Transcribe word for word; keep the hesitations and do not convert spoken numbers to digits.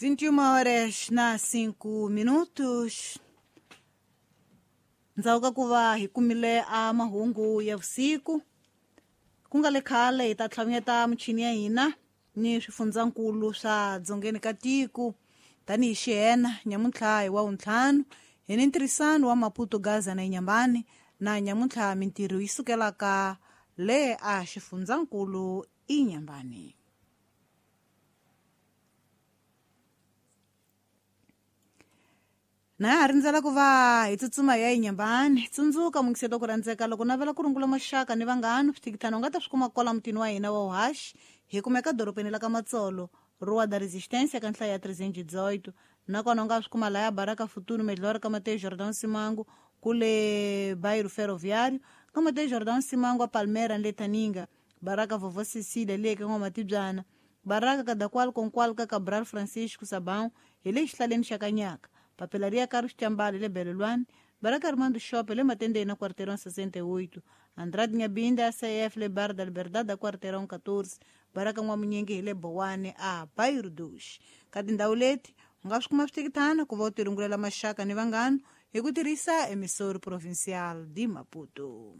vinte e uma horas na cinco minutos. Ndzhaku ka ku va hi kumile a mahungu ya vusiku ku nga le khale hi ta tlhavanyeta michini ya hina ni swifundzankulu swa dzongeni ka tiko tanihi xihena nyamuntlha hi wa wuntlhanu hi ni ntirhisano wa Maputo Gaza na Inhambane na nyamuntlha mintirho yi sukelaka le a xifundzankulu Inhambane. Na ha rindzela ku va hi tsutsuma ya Inhambane. Tsundzuka mukiselo ku rhandzeka loko navela ku rungula maxaka ni vanghana swithikithana u nga ta swi kuma kwala mutini wa hina wa Uhashi hi kumeka dorobeni la ka Matsolo Rua da Resistência ka nhlayo ya trezentos e dezoito nakona u nga swi kuma laya Baraka Futuro Melhor ka Mateus Jordão Simango kule bairro Ferroviário ka Mateus Jordão Simango a Palmeira ni le Taninga Baraka Vovó Cecília le ka N'wamatibyana Baraka Kadakwal Konkwal ka Cabral Francisco Sabão hi le xihlaleni xa Kanyaka Papelaria Carlos Chambale le Belelwane Baraka Armando Shop le Matendeni na Quarteirão sessenta e oito Andrade Nhabinda A C F le Bar da Liberdade da Quarteirão catorze Baraka N'wamunyingi hi le Bowane a Bairro dos. Ka tindhawu leti u nga swi kuma swithikithana ku va u tirungulela maxaka ni vanghana hi ku tirhisa emissora provincial de Maputo.